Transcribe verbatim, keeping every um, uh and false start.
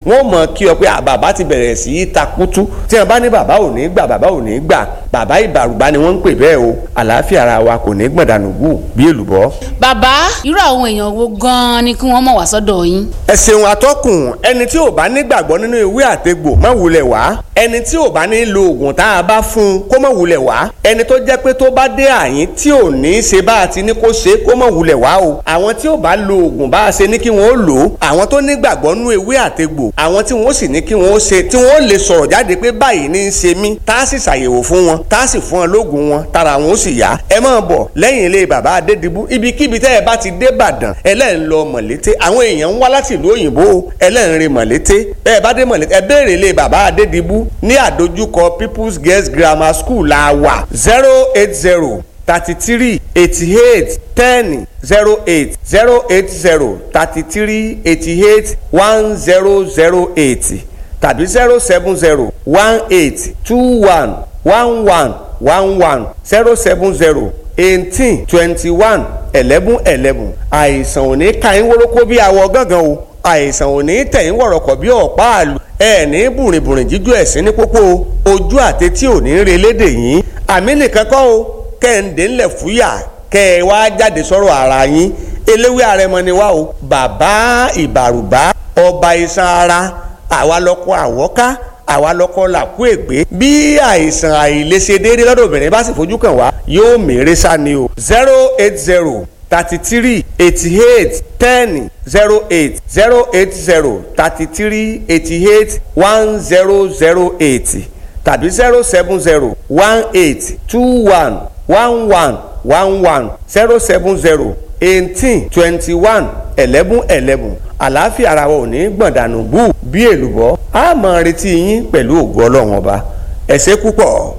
Wọ́n mọ̀ kí ọ pé bàbá ti bẹ̀rẹ̀ sí í takutu. Tí wọ́n bá ní bàbá ò ní gbà, bàbá ò ní gbà, bàbá ìbàrùbá ni wọ́n ń pè bẹ́ẹ̀ o. Àlàáfíà ara wa kò ní gbọ̀ndànù gù bí èlùbọ́. Bàbá, irú àwọn èèyàn wo gan-an ni kí wọ́n mọ̀ wá sọ́dọ̀ yín? Ẹ ṣeun atọ́kùn. Ẹni tí ò bá nígbàgbọ́ nínú ìwé àtegbò má wulẹ̀ wá. Ẹni tí ò bá ní lo oògùn tá a bá fún un kó má wulẹ̀ wá. Ẹni tó jẹ́ pé tó bá dé àyín tí ò ní í ṣe bá a ti ní kó ṣe kó má wulẹ̀ wá o. Àwọn tí ò bá lo oògùn bá a ṣe ní kí wọ́n ó lò ó, àwọn tó nígbàgbọ́ nínú ewé àtegbò, àwọn tí wọ́n sì ní kí wọ́n ó ṣe, tí wọ́n ó lè sọ̀rọ̀ jáde pé báyìí ní í ṣe mí, tá a sì ṣàyẹ̀wò fún wọn, tá a sì fún wọn lóògùn wọn, tára wọn ó sì yá. Ẹ máa bọ̀ lẹ́yìn ilé bàbá Adédìbú. Ibikíbi tẹ́ ẹ bá ti dé Ìbàdàn, ẹlẹ́rìn lọ Mọ̀lété. Àwọn èèyàn ń wá láti ìlú òyìnbó, ẹlẹ́rìn re Mọ̀lété. Ẹ bá dé Mọ̀lété, ẹ béèrè ilé bàbá Adédìbú ní àdójúkọ People's Girls Grammar School la wà. Zero eight zero thirty three eighty eight ten zero eight, zero eight zero thirty three eighty eight one zero zero eight tàbí zero seven zero one eight two one one one one one, zero seven zero eighteen twenty one eleven eleven. Àìsàn ò ní ka yín wórókó bí awọ gángan o. Àìsàn ò ní tẹ̀yìn wọ̀rọ̀kọ̀ bí ọ̀pá àlù. Ẹ ní bùrìnbùrìn jíjú ẹ̀sìn ní pópó o. Ojú àtẹ̀tí ò ní relé dè yín. Àmì nìkan kọ́ o, kẹ́hìndé ńlẹ̀ fúyà kẹ́ ẹ wá jáde sọ̀rọ̀ ara yín. Eléwé àrẹ̀mọ ni wá o, bàbá ìbàrùbá, ọba iṣan ara. Àwa lọkọ àwọ́ká, àwa lọkọ làkú ègbé. Bí àìsàn àìlèṣedéédé lọ́dọ̀ obìnrin bá sì fojú kàn wá, yóò mèrè sá ni o. Zero eight zero thirty three eighty eight ten zero eight, zero eight zero thirty three eighty eight one zero zero eight tàbí zero seven zero one eight two one one one one one, zero seven zero eighteen twenty one eleven eleven. Àlàáfíà ara wa ò ní gbọ̀ndànù bú bí èlùbọ́. A máa retí yín pẹ̀lú ògo Ọlọ́run Ọba. Ẹ ṣé púpọ̀.